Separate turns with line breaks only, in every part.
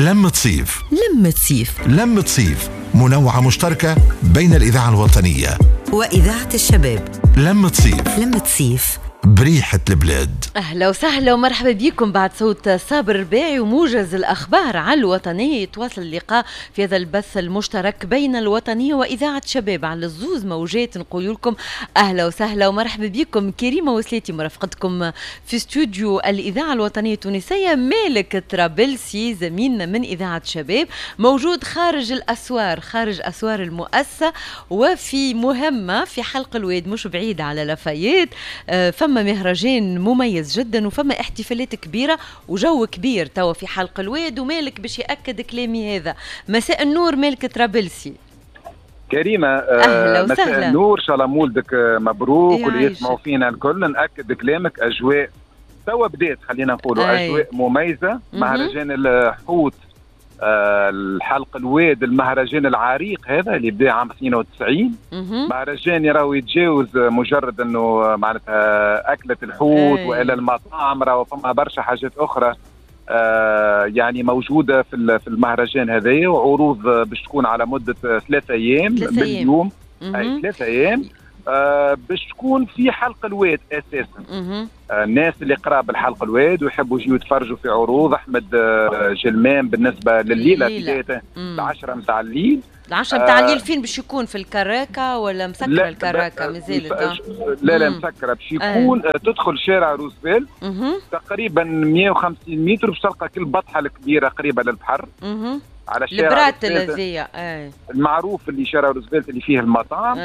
لمة صيف،
لمة صيف،
لمة صيف، منوعة مشتركة بين الإذاعة الوطنية
وإذاعة الشباب.
لمة صيف،
لمة صيف،
بريحة البلاد.
أهلا وسهلا ومرحبا بكم بعد صوت صابر الرباعي وموجز الأخبار على الوطنية. يتواصل اللقاء في هذا البث المشترك بين الوطنية وإذاعة شباب على الزوز موجات. نقول لكم أهلا وسهلا ومرحبا بكم. كريمة وسلاتي مرافقتكم في استوديو الإذاعة الوطنية التونسية. مالك طرابلسي زميلنا من إذاعة شباب موجود خارج الأسوار، خارج أسوار المؤسسة، وفي مهمة في حلق الواد مش بعيد على لافايت. فما مهرجان مميز جدا وفما احتفالات كبيرة وجو كبير توا في حلق الواد، ومالك باش يأكد كلامي هذا. مساء النور مالك طرابلسي.
كريمة
أهلا وسهلا.
مساء النور، إن شاء الله مولدك مبروك واللي يسمعوا فينا الكل. نأكد كلامك، أجواء توا بدات، خلينا نقولوا أجواء مميزة. مهرجان الحوت، الحلق الواد، المهرجان العريق هذا اللي بدا عام 92. مهرجان راهو يتجاوز مجرد انه معناتها اكله الحوت والى المطاعم، راهو فما برشا حاجات اخرى يعني موجودة في المهرجان هذايا، وعروض باش تكون على مده 3 ايام باليوم، اي 3 ايام باش تكون في حلق الواد اساسا. الناس اللي قراب الحلق الواد ويحبوا يجيو يتفرجوا في عروض احمد جلمان بالنسبة لليلة بداية 10 نتاع الليل.
10 نتاع الليل فين باش يكون؟ في الكراكه ولا مسكره الكراكه مازالت؟
لا لا مسكره. باش يكون تدخل شارع روزفلت تقريبا 150 متر باش تلقى كل بطحه الكبيرة قريبه للبحر. على شارع
البرات الذي
المعروف اللي شارع روزفلت اللي فيه المطاعم.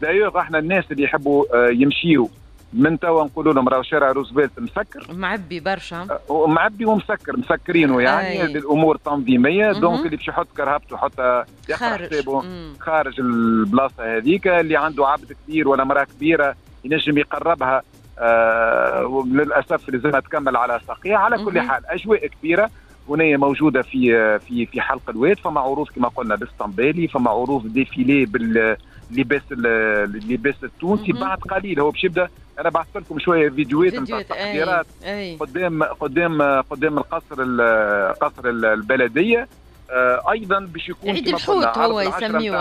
d'ailleurs احنا الناس اللي يحبوا يمشيوا من توا نقولوا لهم راهو شارع روزفلت مسكر،
معبي برشا،
معبي ومسكر، مسكرينه يعني للامور التنظيمية. donc اللي باش يحط كرهبته يحطها حسابه خارج البلاصة هذيك. اللي عنده عبد كبير ولا مراة كبيرة ينجم يقربها، للاسف لازمها تكمل على ساقيها. على كل حال اجواء كبيرة هنا موجودة في في في حلق الواد. فما عروض كما قلنا الاسطنبالي، فما عروض défilé باللباس اللباس التونسي. بعد قليل هو باش يبدا. انا بعثت لكم شوية فيديوهات نتاع التحضيرات قدام قدام قدام القصر، قصر البلدية. ايضا باش يكون
عيد الحوت، هو يسميوه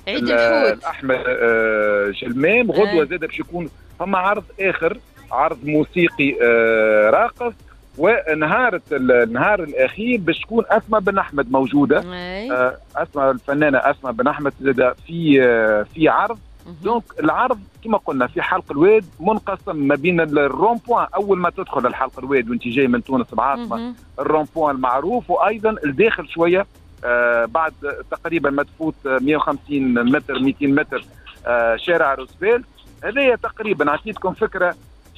عيد الحوت
احمد جلمام. غدوه زاد باش يكون فما عرض اخر، عرض موسيقي راقص. ونهار النهار الاخير باش تكون اسماء بن احمد موجودة. اسماء الفنانة اسماء بن احمد زاد في عرض. donc العرض كما قلنا في حلق الواد منقسم ما بين ال rond-point، اول ما تدخل الحلق الواد وانت جاي من تونس العاصمة ال rond-point المعروف، وايضا الداخل شوية بعد تقريبا ما تفوت 150 متر 200 متر شارع روزفلت. هذايا تقريبا عطيتكم فكرة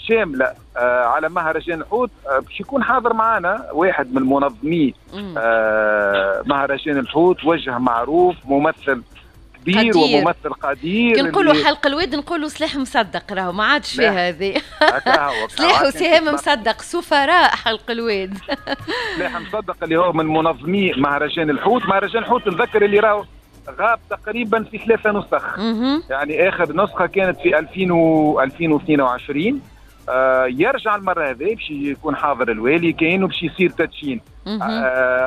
شاملة على مهرجان الحوت. باش يكون حاضر معنا واحد من منظمي مهرجان الحوت، وجه معروف، ممثل كبير وممثل قدير.
كي نقولوا حلق الواد نقولوا سلاح مصدق، راهو ما عادش فيها هذه. سلاح وسهام مصدق، سفراء حلق الواد.
سلاح مصدق اللي هو من منظمي مهرجان الحوت. مهرجان الحوت نذكر اللي راهو غاب تقريبا في 3 نسخ. يعني اخر نسخه كانت في 2022. يرجع المرة هذه باش يكون حاضر الوالي كاين وباش يصير تدشين.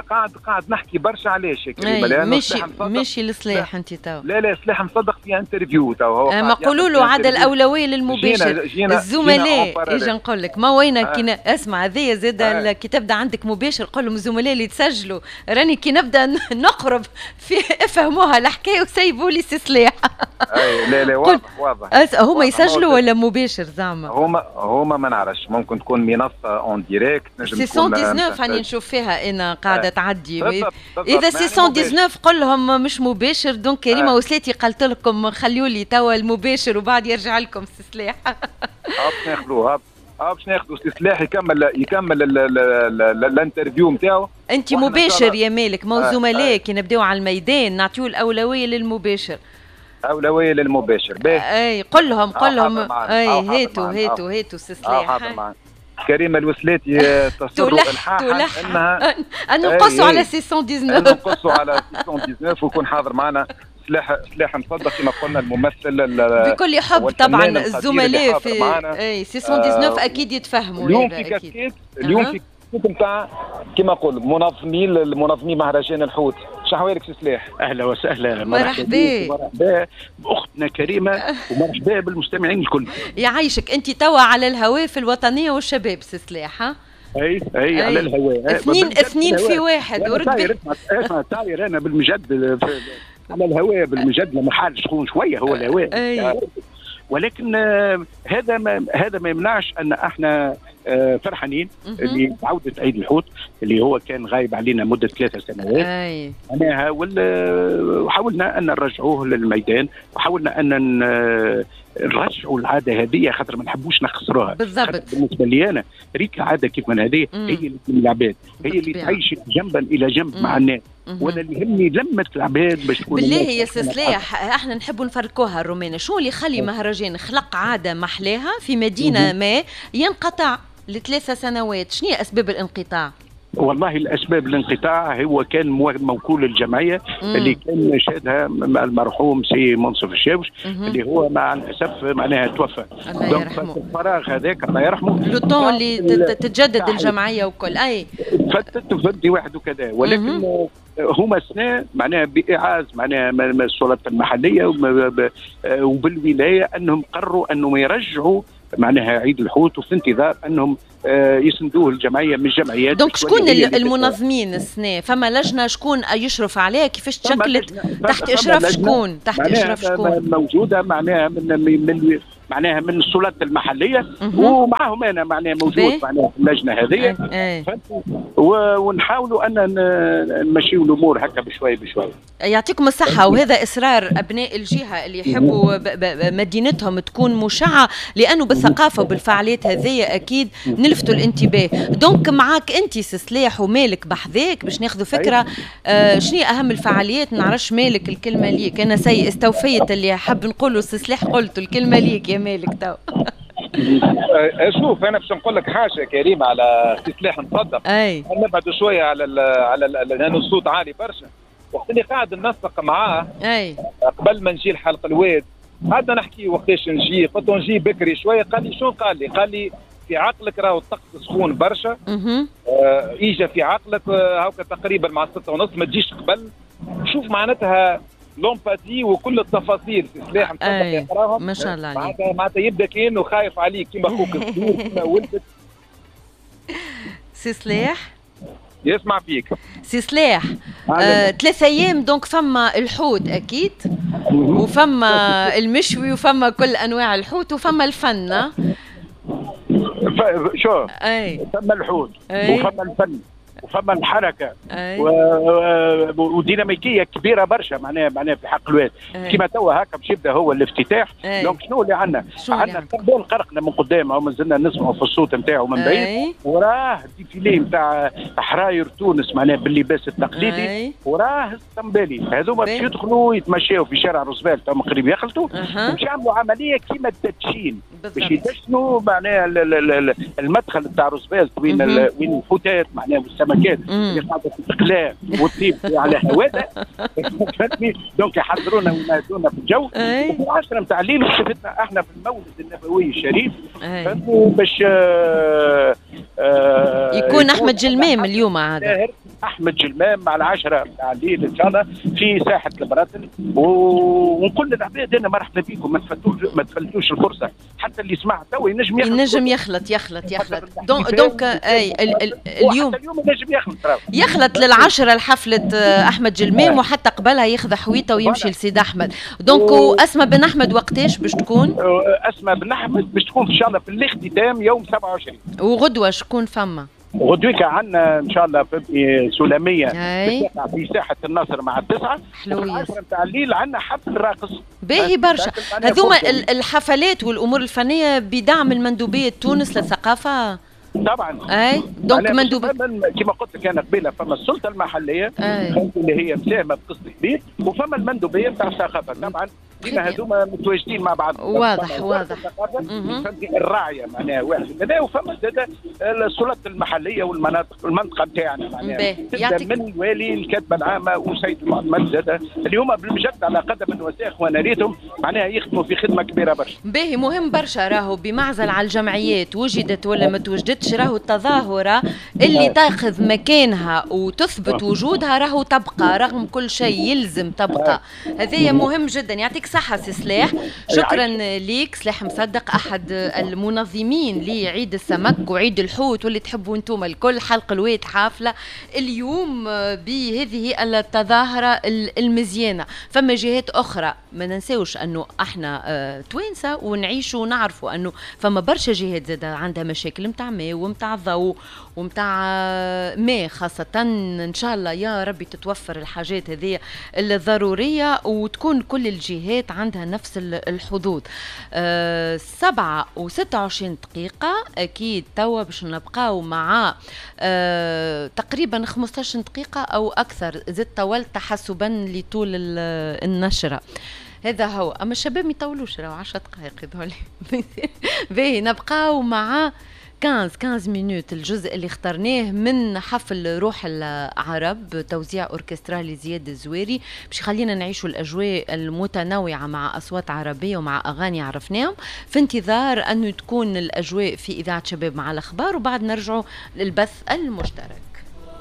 قاعد نحكي برشا علاش يا كريمة،
ماشي لسلاح انت تو.
لا لا سلاح مصدق في interview تو هو.
ما قولوا له عاد الاولوية للمباشر. الزملاء اجا نقول لك ما وين كي اسمع هذايا زاد كي تبدا عندك مباشر قول لهم الزملاء اللي تسجلوا راني كي نبدا نقرب في افهموها الحكاية وسيبوا لي سلاح.
اي لا لا واضح واضح.
هما يسجلوا ولا مباشر زعما؟
هما ما نعرفش، ممكن تكون منصة en direct،
نجم تكون 619 راني نشوف فيها انا قاعدة تعدي. اذا 619 قل لهم مش مباشر. donc كريمة وسلاتي قالت لكم خليوا لي توا المباشر وبعد يرجع لكم السلاح.
باش ناخذوه، باش ناخذوا السلاح يكمل ال interview نتاعو.
انت مباشر يا مالك، ما زملاء كي نبداو على الميدان نعطيو الاولوية للمباشر.
اولوية للمباشر.
اي قل لهم، قل لهم اي هاتوا هاتوا هاتوا السلاح.
كريمة الوسلاتي تصر الحاحا انها
ان نقصوا على 619،
نقصوا على 619 ويكون حاضر معنا سلاح مصدق كما قلنا الممثل
بكل حب طبعا. الزملاء في اي 619 اكيد يتفهموا.
اليوم في كاسكيت، اليوم في نتاع كما نقول منظمين مهرجان الحوت. شحوالك سي سلاح؟
اهلا وسهلا،
مرحبا
مرحبا باختنا كريمة ومرحبا بالمستمعين الكل.
يعيشك. انت توا على الهواء في الوطنية والشباب سي سلاح؟ ها
اي على الهواء.
اثنين في واحد.
ورد اسمع طاير انا بالمجد على الهواء بالمجد، لما حال سخون شوية هو الهواء، ولكن هذا ما يمنعش ان احنا فرحانين اللي عودة عيد الحوت اللي هو كان غايب علينا مدة 3 سنوات. معناها وحاولنا أن نرجعوه للميدان، وحاولنا أن نرجعوا العادة هذه خاطر ما نحبوش نخسروها.
بالضبط.
بالنسبة لي أنا ريك عادة كيف من هذه هي اللي من العباد، هي اللي تعيش جنبا إلى جنب مع الناس، وانا اللي يهمني لمة العباد باش تكون.
بالله يا سي سلاح احنا نحبوا نفركوها الرومانة، شو اللي يخلي مهرجان خلق عادة محلاها في مدينة ما ينقطع ل3 سنوات؟ شنو هي أسباب الانقطاع؟
والله الأسباب الانقطاع هو كان موكول الجمعية اللي كان شادها المرحوم سي منصف الشاوش اللي هو مع الأسف معناها توفى.
الله يرحمه.
الفراغ هذاك الله يرحمه،
le temps اللي تتجدد الجمعية وكل أي
فتت وفدي واحد وكذا، ولكن هما سنة معناها بإعاز معناها السلطات المحلية وبالولاية أنهم قرروا أنهم يرجعوا معناها عيد الحوت، وفي انتظار انهم يسندوه الجمعية من الجمعيات.
donc شكون المنظمين السنة؟ فما لجنة شكون يشرف عليها؟ كيفاش تشكلت؟ تحت اشراف شكون؟ تحت اشراف شكون؟
موجودة معناها من معناها من السلطات المحلية ومعهم انا معناها موجود معناها في اللجنة هذه، ونحاولوا ان نمشيو الامور هكا بشوي بشوي.
يعطيكم الصحة، وهذا اصرار ابناء الجهة اللي يحبوا مدينتهم تكون مشعه، لانه بالثقافة وبالفعاليات هذه اكيد نلفتوا الانتباه. donc معاك انت سي سلاح ومالك بحذاك باش ناخذوا فكرة شنو اهم الفعاليات. نعرفش مالك الكلمة ليك، انا سي استوفيت اللي حاب نقوله سي سلاح قلته، الكلمة ليك يا مالك تو.
شوف انا باش نقول لك حاجة كريمة على سي سلاح نصدق. نبعد شوية على لانه الصوت عالي برشا. وقت اللي قاعد ننسق معاه قبل ما نجي لحلق الواد، قعدنا نحكي وقتاش نجي، قلت له نجي بكري شوية، قال لي شو؟ قال لي في عقلك راهو الطقس سخون برشا، اجا في عقلك هاكا تقريبا مع 6:30 ما تجيش قبل. شوف معناتها l'empathie وكل التفاصيل في سلاح مصدق يقراهم
ما شاء الله عليك.
معناتها يبدا كانه خايف عليك كيما اخوك الصغير كيما ولدك.
سي سلاح
يسمع فيك.
سي سلاح 3 ايام donc فما الحوت اكيد، وفما المشوي، وفما كل انواع الحوت، وفما الفن.
شو فما الحوت وفما الفن وفما الحركة وديناميكيه كبيرة برشا معناها في حق الواد. كيما توا هكا باش يبدا هو الافتتاح. donc شنو اللي عندنا؟ عندنا استقبال قرقنا من قدام، هو مازلنا نسمعوا في الصوت نتاعو من بعيد، وراه défilé نتاع حراير تونس معناها باللباس التقليدي، وراه السمبالي. هذوما باش يدخلوا يتمشاو في شارع روزفلت تم قريب يخلطوا، باش يعملوا عملية كيما التدشين، باش يدشنوا معناها المدخل نتاع روزفلت وين الحوتات معناها والسمكات اللي قاعدة تتقلى وتطيب على هواده. فهمتني؟ donc يحضرونا وينادونا في الجو. وفي 10 نتاع الليل شفتنا احنا في المولد النبوي الشريف، فهمتني؟ باش
يكون احمد جلمام اليوم عاد.
احمد جلمام مع 10 نتاع الليل ان شاء الله في ساحة البراطل. ونقول للعباد انا مرحبا بكم، ما تفلتوش الفرصة، حتى اللي سمع تو ينجم
يخلط يخلط يخلط. donc اي اليوم
ينجم
يخلط لل10 لحفله احمد جلمام، وحتى قبلها ياخذ حويته ويمشي لسيد احمد. donc اسماء بن احمد وقتاش باش تكون؟
اسماء بن احمد باش تكون ان شاء الله في الاختتام يوم 27.
وغدوه شكون فما؟
غدويك عندنا ان شاء الله في سلاميه في ساحة النصر مع 9
حلوية
نتاع الليل، عندنا حفل راقص
باهي برشا. هذوما الحفلات والامور الفنية بدعم المندوبيه تونس للثقافة
طبعا.
اي donc مندوب
كما قلت لك انا قبيلة، فما السلطة المحلية اللي هي مساهمة بقسط كبير، وفما المندوبيه نتاع الثقافة طبعا. ديما هذوما متواجدين مع بعض.
واضح واضح.
الراعيه معناها واحد كذا، وفما زاد السلطات المحلية والمناطق المنطقة نتاعنا معناها تبدا من الوالي، الكاتبة العامة، وسيد المعتمد زاد اللي هما بالمجد على قدم وساق، وانا ريتهم معناها يخدموا في خدمة كبيرة برشا.
باهي، مهم برشا راهو بمعزل على الجمعيات وجدت ولا ما توجدتش، راهو التظاهرة اللي تاخذ مكانها وتثبت وجودها راهو تبقى رغم كل شيء، يلزم تبقى. هذا مهم جدا. يعطيك صحة سي سلاح، شكرا ليك سلاح مصدق أحد المنظمين لعيد السمك وعيد الحوت واللي تحبوا انتم الكل. حلق الواد حافلة اليوم بهذه التظاهرة المزيانة. فما جهات أخرى ما ننساوش أنه احنا توانسة ونعيشوا ونعرفوا أنه فما برشا جهات زادة عندها مشاكل متاع ماء ومتاع ضوء ومتاع ماء خاصة. إن شاء الله يا ربي تتوفر الحاجات هذه الضرورية وتكون كل الجهات عندها نفس الحظوظ. 7:26 أكيد توا باش نبقاو مع تقريبا 15 دقيقة أو أكثر، زدت طولت تحسبا لطول النشرة. هذا هو. أما الشباب ما يطولوش، راهو 10 دقائق يظهر لي. باهي، نبقاو مع 15 minutes الجزء اللي اخترناه من حفل روح العرب، توزيع اوركسترالي زياد الزويري، باش يخلينا نعيشوا الاجواء المتنوعة مع اصوات عربية ومع اغاني عرفناهم، في انتظار انه تكون الاجواء في اذاعة شباب مع الاخبار، وبعد نرجعوا للبث المشترك.